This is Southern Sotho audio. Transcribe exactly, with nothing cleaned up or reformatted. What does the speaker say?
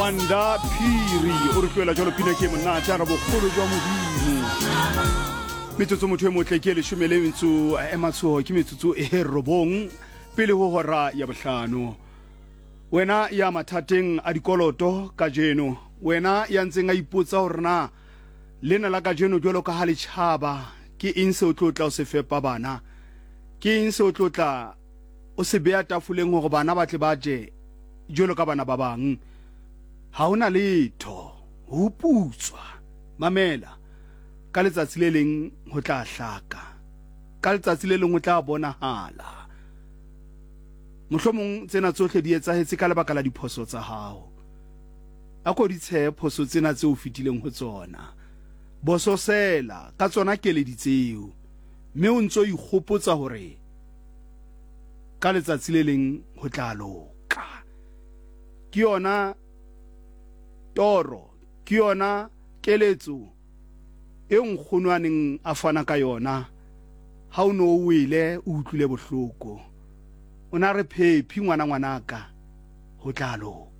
Wanda Phiri o re tlohela jalo pina ke monate a re bogolo jwa Modimo. Metsotso motho e motle ke leshome le metso e matshoho, ke metsotso e robong pele ho hora ya bohlano. Wena ya mathateng a dikoloto kajeno, wena ya ntseng a ipotsa hore na lena la kajeno jwalo ka ha le tjhaba, ke eng se o tlo tla o se fepa bana, ke eng se o tlo tla o se beha tafoleng hore bana ba tle ba je jwalo ka bana ba bang. Ha hona letho ho putswa. Mamela, ka letsatsi le leng ho tla hlaka, ka letsatsi le leng ho tla bonahala. Mohlomong tsena tsohle di etsahetse ka lebaka la diphoso tsa hao. A ko di tshehe phoso tsena tseo o fetileng ho tsona, bososela ka tsona keledi tseo, mme o ntso ikgopotsa hore ka letsatsi le leng ho tla loka. Ke yona toro, ke yona keletso e nkgono a neng a fana ka yona ha o no o wele o utlwile bohloko. O na re phephi ngwana ngwanaka, ho tla loka.